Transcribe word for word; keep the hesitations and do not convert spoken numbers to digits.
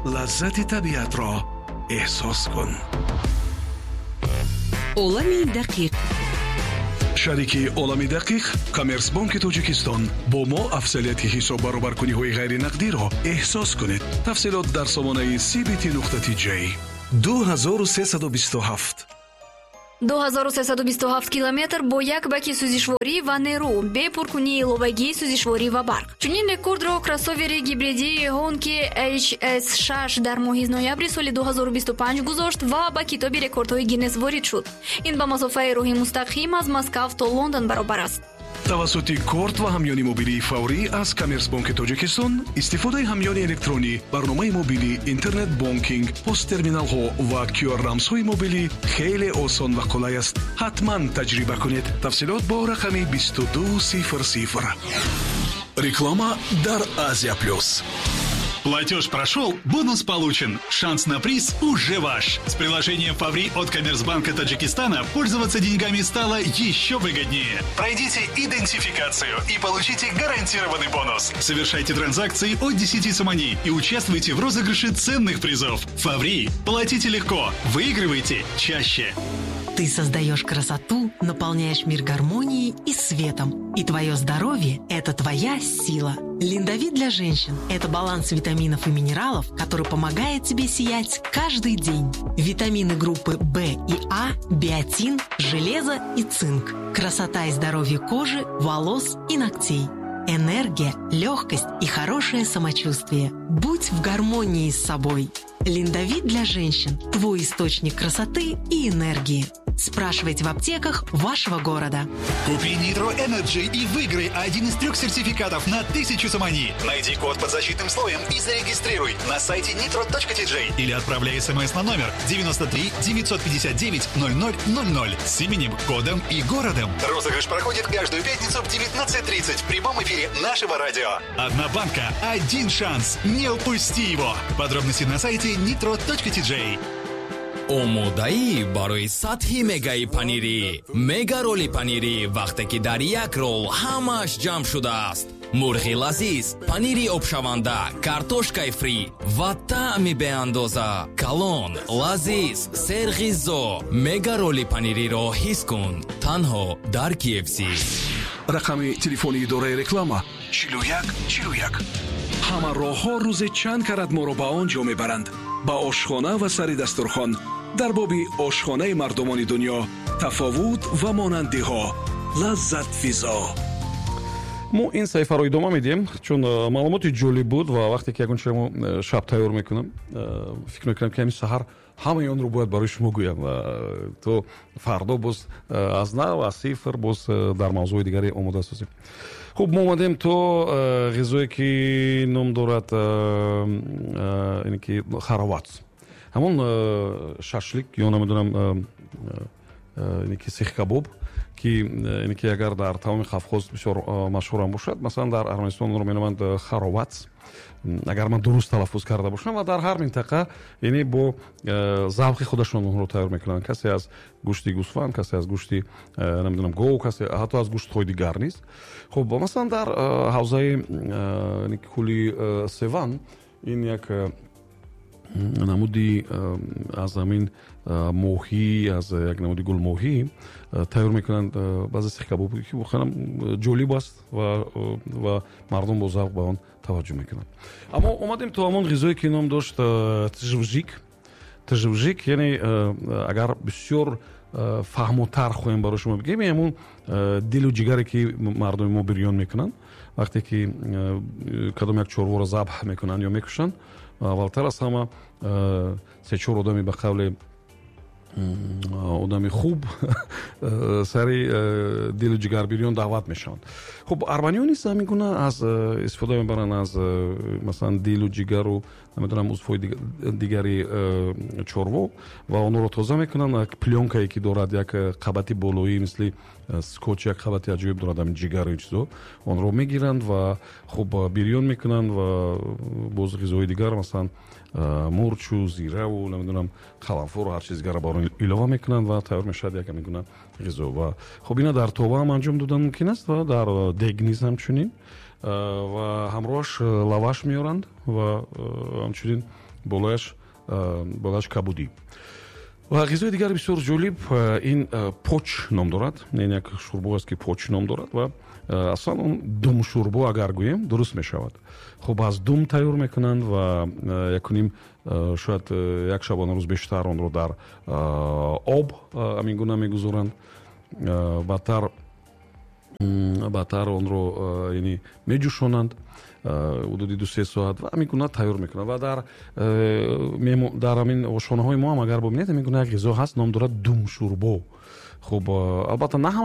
Лаззати табиатро эҳсос кун. Олами дақиқ. Шарики Олами дақиқ Коммерсбонки Тоҷикистон. Бо мо афзалияти ҳисоббаробаркуниҳои ғайринақдиро эҳсос кунед. Тафсилот дар сомонаи C B T нуқта T J. ду ҳазору сесаду бисту ҳафт. ду ҳазору сесаду бисту ҳафт километр бо як баки сӯзишворӣ ва нерӯ, бе пуркунии иловагии сӯзишворӣ ва барқ. Чунин рекордро кроссовери гибридии Хонки H S шаш дар моҳи ноябри соли ду ҳазору бисту панҷ гузошт ва ба Китоби рекордҳои Гиннес ворид шуд. Ин ба масофаи роҳи мустақим аз Москав то Лондон баробар аст. Тавассути корт ва ҳамёни мобилии фаврӣ аз Коммерсбонки Тоҷикистон истифодаи ҳамёни электронӣ, барномаи мобилӣ, интернет бонкинг, посттерминалҳо ва Q R рамзҳои мобилӣ хеле осон ва қулай аст. Ҳатман таҷриба кунед. Тафсилот бо рақами бисту ду сифр сифр. Реклама дар Азия Плюс. Платеж прошел, бонус получен. Шанс на приз уже ваш. С приложением «Фаври» от Коммерсбанка Таджикистана пользоваться деньгами стало еще выгоднее. Пройдите идентификацию и получите гарантированный бонус. Совершайте транзакции от десяти сомони и участвуйте в розыгрыше ценных призов. «Фаври». Платите легко. Выигрывайте чаще. Ты создаешь красоту, наполняешь мир гармонией и светом. И твое здоровье – это твоя сила. Линдовит для женщин – это баланс витаминов и минералов, который помогает тебе сиять каждый день. Витамины группы В и А, биотин, железо и цинк. Красота и здоровье кожи, волос и ногтей. Энергия, легкость и хорошее самочувствие. Будь в гармонии с собой. Линдовит для женщин – твой источник красоты и энергии. Спрашивайте в аптеках вашего города. Купи Nitro Energy и выиграй один из трех сертификатов на тысячу сомони. Найди код под защитным слоем и зарегистрируй на сайте nitro точка T J или отправляй смс на номер девяносто три девятьсот пятьдесят девять ноль ноль ноль ноль с именем, кодом и городом. Розыгрыш проходит каждую пятницу в девятнадцать тридцать в прямом эфире нашего радио. Одна банка, один шанс. Не упусти его. Подробности на сайте nitro точка T J. Омодаӣ барои сатҳи мегаи панирӣ, мегароли панирӣ, вақте ки дар як рол ҳамааш ҷамъ шудааст: мурғи лазиз, панири обшаванда, картошкаи фри ва таъми беандоза. Калон, лазиз, серғизо. Мегароли панириро ҳис кун танҳо дар K F C. Рақами телефони идораи реклама чилу як чилу як. Ҳама роҳҳо рӯзе чанд карат моро ба он ҷо мебаранд, ба ошхона ва сари дастурхон. Дар боби ошхонаи мардумони дунё, тафовут ва монандиҳо, лаззатфизо. Мо ин саҳифаро идома медиҳем, чун э, маълумоти ҷолиб буд ва вақте ки ягон чиро мо э, шаб тайёр мекунам, э, фикр мекунам, ки ҳамин саҳар ҳамаи онро бояд барои шумо гӯям, то фардо боз аз нав, аз сифр боз дар мавзӯи дигаре омода созем. Хуб, мо омадем то ғизое, ки ном дорад ин ки харовац, ҳамон шашлик ё намедонам, ин ки сихкабоб, ки ин ки агар дар тамоми Қавқоз бисёр машҳурам бошад, масалан, дар Арманистон онро меноманд харовац, агар ман дуруст талаффуз карда бошам. Ва дар ҳар минтақа, яъне, бо завқи худашон онҳоро тайёр мекунанд: касе аз гӯшти гӯсфанд, касе аз гӯшти, намедонам, гов, касе ҳатто аз гӯштҳои дигар низ. Хуб, масалан, дар ҳавзаи кӯли Севан ин як намуди аз ҳамин моҳӣ, аз як намуди гулмоҳӣ тайёр мекунанд баъзе сихкабоб, ки воқеан ҷолиб аст ва ва мардум бо завқ ба он таваҷҷӯҳ мекунанд. Аммо омадем то ҳамон ғизое, ки ном дошт тжвжик. Тжвжик, яъне агар бисёр фаҳмотар хоҳем барои шумо бигӯем, ҳамон дилу ҷигаре, ки мардуми мо бирён мекунанд, вақте ки кадом як чорворо забҳ мекунанд ё мекушанд. Аввалтар аз ҳама се-чор одами, ба қавле, одами хуб сари дилу ҷигар бирён даъват мешаванд. Хуб, арманиҳо низ ҳамин гуна аз истифода мебаранд, аз масалан дилу ҷигару, намедонам, узвҳои дигари чорво ва онҳоро тоза мекунанд. Як плёнкае, ки дорад, як қабати болоӣ, мисли скотч, як қабати аҷоиб дорад ҳамин ҷигару ин чизо, онро мегиранд ва хуб бирён мекунанд ва боз ғизоҳои дигар, масалан мурчу, зираву, намедонам, қаламфуру ҳар чиз дигарро бар он илова мекунанд ва тайёр мешавад як ҳамин гуна ғизо. Ва хуб, ина дар това ҳам анҷом додан мумкин аст ва дар дег низ ҳамчунин, ва ҳамроҳаш лаваш меоранд ва ҳамчунин Болояш болояш кабудӣ. Ва ғизои дигари бисёр ҷолиб ин поч ном дорад. Ин як шӯрбо аст, ки поч ном дорад, ва аслан он думшӯрбо агар гӯем, дуруст мешавад. Хуб, аз дум тайёр мекунанд ва якуним, шояд як шабонарӯз бештар онро дар об ҳамин гуна мегузоранд. Баъдтар баъдтар онро, яъне, меҷӯшонанд ҳудуди ду се соат ва ҳамин гуна тайёр мекунанд. Ва дар дар ҳамин ошхонаҳои мо ҳам агар бубинед, ҳамин гуна як ғизо ҳаст, ном дорад думшӯрбо. Хуб, албатта, на ҳама.